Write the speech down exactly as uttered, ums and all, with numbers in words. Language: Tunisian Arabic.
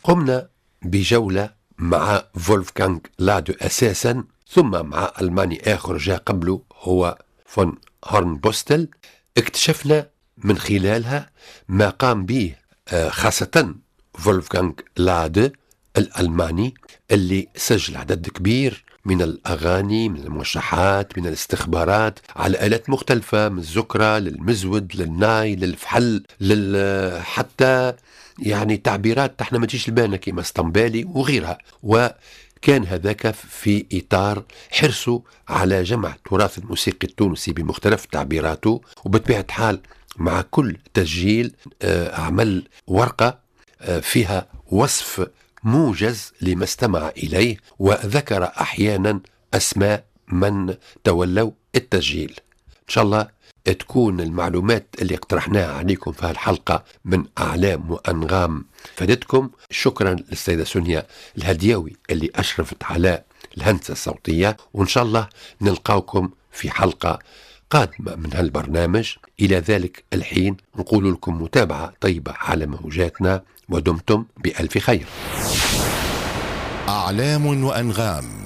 قمنا بجولة مع فولفغانغ لادو أساسا، ثم مع ألماني آخر جاء قبله هو فون هورنبوستل. اكتشفنا من خلالها ما قام به خاصة فولفغانغ لادو الألماني اللي سجل عدد كبير من الأغاني، من الموشحات، من الاستخبارات على آلات مختلفة، من الزكرة للمزود للناي للفحل لل... حتى يعني تعبيرات احنا ما تجيش لبالنا كيما اسطنبالي وغيرها. وكان هذاك في إطار حرصه على جمع التراث الموسيقي التونسي بمختلف تعبيراته. وبطبيعة حال مع كل تسجيل عمل ورقة فيها وصف موجز لما استمع إليه، وذكر أحيانا أسماء من تولوا التسجيل. إن شاء الله تكون المعلومات اللي اقترحناها عليكم في هالحلقة من أعلام وأنغام فادتكم. شكرا للسيدة سونيا الهديوي اللي أشرفت على الهندسة الصوتية، وإن شاء الله نلقاكم في حلقة قادمة من هالبرنامج. إلى ذلك الحين نقول لكم متابعة طيبة على موجاتنا، ودمتم بألف خير. أعلام وأنغام.